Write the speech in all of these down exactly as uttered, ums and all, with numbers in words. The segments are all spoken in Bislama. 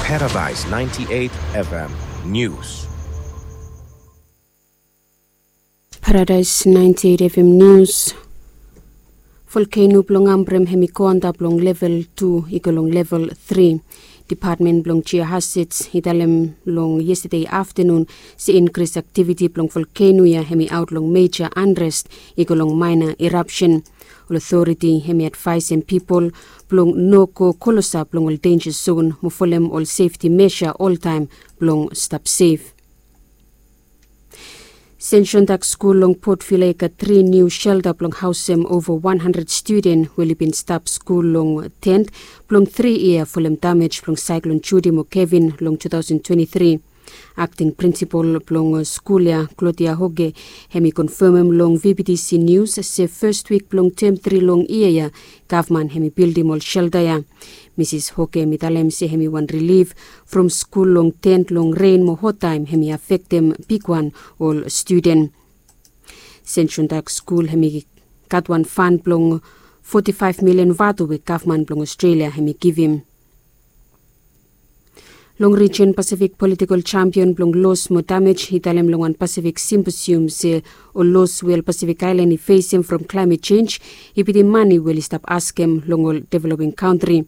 Paradise ninety-eight F M News. Paradise ninety-eight F M News. Volkeno blong Ambrem hem i go antap long level tu i go long level tri. Depatmen blong Geohazards i talem long yestade aftanun se inkris aktiviti blong volkeno ya hem i aot long meja anrest i go long maena irapsen. Ol otoriti hem i advaesem pipol blong no go klosap long ol denja zon mo folem ol sefti mesa oltaem blong stap sef. Senshondak skul long Port Vila i gat tri niu shelta blong haosem ova wan handred studen we oli bin stap skul long tent blong tri yia folem damej blong saeklon Judi mo Kevin long tu taosen twenti tri. Akting prinsipol blong skul ya, Claudia Hoge, hem i konfamem long V B T C Nius se fes wik blong tem tri long yia ya gavman hem i bildim ol shelta ya. Misis Hoge hem i talem se hem i wan rilif from skul long tent long ren mo hottaem hem i afektem bigwan ol studen. Senshondak skul hem i gat wan fan blong foti faef milian vatu we gavman blong Ostrelia hem i givim. Long rijen Pasifik, politikol jampion blong los mo damej i talem long wan Pasifik simposium se ol los we ol Pasifik aelan i fesem from klaemet jenj i bitim mane we oli stap askem long ol developing kantri.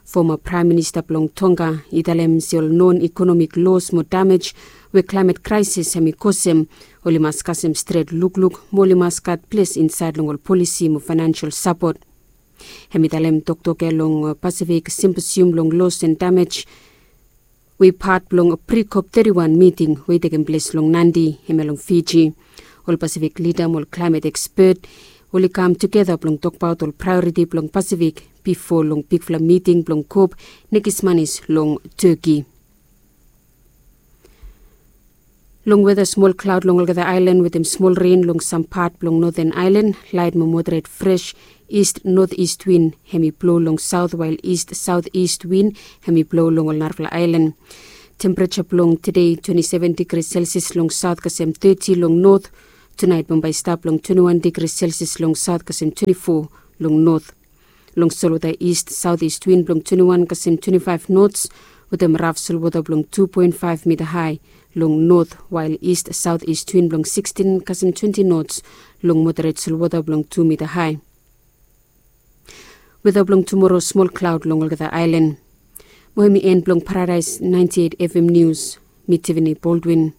Foma Praem Minista blong Tonga i talem se ol non ekonomik los mo damej we klaemet kraesis hem i kosem, oli mas kasem stret lukluk mo oli mas gat ples insaed long ol polisi mo faenansel sapot. Hem i talem toktok ya long Pasifik simposium long los and damej we i pat blong pri-kop teti wan miting we i tekem ples long Nadi, hemia long Fiji. Ol Pasifik lida mo ol klaemet ekspet oli kam tugeta blong tokbaot ol praeoriti blong Pasifik bifo long bigfala miting blong kop nekis manis long Teki. Long weta, smol klaod long olgeta aelan wetem smol ren long sam pat blong Noten Aelan, laet mo moderet fres ist noteast win hem i blo long saot, wael ist saoteast win hem i blo long ol narafala aelan. Tempereja blong tede twenti seven digri Celsius long saot kasem teti long not. Tunaet bambae i stap long twenti wan digri Celsius long saot kasem twenti fo long not. Long solwota ist saoteast win blong twenti wan kasem twenti faef nots wetem raf solwota blong tu poen faef mita hae long not, wael ist saoteast win blong sikstin kasem twenti nots long moderet solwota blong tu mita hae. Weta blong tumoro, smol klaod long olgeta aelan. Mo hem i en blong Paradaes naenti eit F M Nius. Mi Tiffany Baldwin.